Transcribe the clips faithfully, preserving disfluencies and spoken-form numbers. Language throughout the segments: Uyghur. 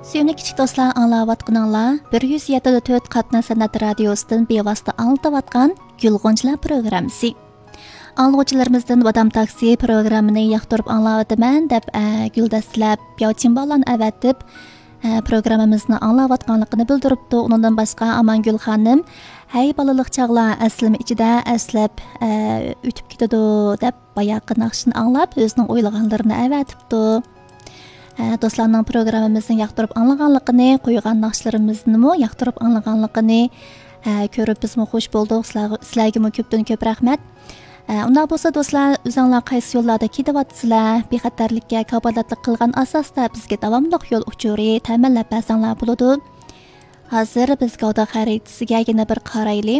سۆيۈملۈك كىچىك دوستلار، ئاڭلاۋاتقىنىڭلار بىر يۈز يەتتە نۇقتا تۆت قاتناش سەنئەت رادىيوسىدىن بىۋاسىتە ئاڭلىتىۋاتقان گۈل غۇنچىلار پروگراممىسى. ئاڭلىغۇچىلىرىمىزدىن بادام تاكسى پروگراممىنى ياقتۇرۇپ ئاڭلاۋاتىمەن دەپ، ئە، گۈلدەستىلەپ ياۋچىن بالىلارنى ئەۋەتىپ، ئە، پروگراممىمىزنى ئاڭلاۋاتقانلىقىنى بىلدۈرۈپتۇ. ئۇنىڭدىن باشقا ئامانگۈل خانىم، ھەي بالىلىق چاغلار ئەسلىمە ئىچىدە ئەسلەپ، ئە، ئۆتۈپ كېتىدۇ دەپ باياقى ناخشىنى ئاڭلاپ، ئۆزىنىڭ ئويلىغانلىرىنى ئەۋەتىپتۇ. ئە، دوستلارنىڭ پروگراممىمىزنى ياقتۇرۇپ ئاڭلىغانلىقىنى، قويغان ناخشىلىرىمىزنىمۇ ياقتۇرۇپ ئاڭلىغانلىقىنى، ئە، كۆرۈپ بىزمۇ خۇش بولدۇق. سىلەرگە، سىلەرگىمۇ كۆپتىن كۆپ رەھمەت. ئە، ئۇنداق بولسا دوستلار، ئۆزۈڭلار قايسى يوللاردا كېتىۋاتىسىلەر؟ بىخەتەرلىككە كاپالەتلىك قىلغان ئاساستا بىزگە داۋاملىق يول ئۇچۇرى تەمىنلەپ بەرسەڭلار بولىدۇ. ھازىر بىز گەۋدە خەرىتىسىگە يەنە بىر قارايلى.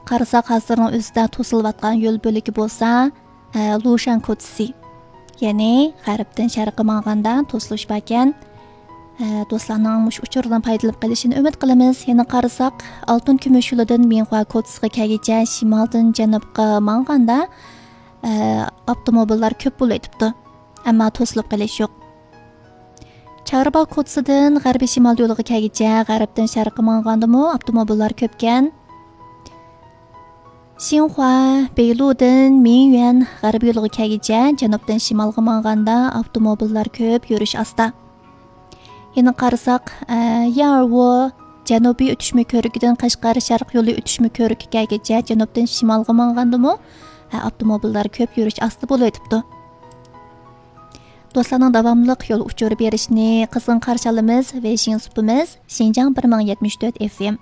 قارىساق، ھازىرنىڭ ئۆزىدە توسۇلۇۋاتقان يول بۆلىكى بولسا، ئە، لۇشەن كوچىسى، يەنى غەربتىن شەرققە ماڭغاندا توسۇلۇش باركەن. ئە، دوستلارنىڭ مۇشۇ ئۇچۇردىن پايدىلىنىپ قېلىشىنى ئۈمىد قىلىمىز. يەنە قارىساق، ئالتۇن كۈمۈش يولىدىن مىنخۇا كوچىسىغا كەلگۈچە شىمالدىن جەنۇبقا ماڭغاندا، ئە، ئاپتوموبىللار كۆپ بولۇۋېتىپتۇ. ئەمما توسۇلۇپ قېلىش يوق. چارباغ كوچىسىدىن غەربىي شىمال يولىغا كەلگۈچە غەربتىن شەرققە ماڭغاندىمۇ ئاپتوموبىللار كۆپكەن. شىنخۇا، بېيلۇدىن مىنيۈەن غەربىي يولىغا كەلگۈچە جەنۇبتىن شىمالغا ماڭغاندا ئاپتوموبىللار كۆپ، يۈرۈش ئاستا. يەنە قارىساق، ئە، يارۋو جەنۇبىي ئۆتۈشمە كۆرۈكىدىن قەشقەر شەرق يولى ئۆتۈشمە كۆرۈكى كەلگۈچە جەنۇبتىن شىمالغا ماڭغاندىمۇ، ئە، ئاپتوموبىللار كۆپ، يۈرۈش ئاستا بولۇۋېتىپتۇ. دوستلارنىڭ داۋاملىق يول ئۇچۇرى بېرىشىنى قىزغىن قارشى ئالىمىز. ۋېيشىڭ سۇپىمىز شىنجاڭ بىر مىڭ يەتمىش تۆت ئېف ئېم.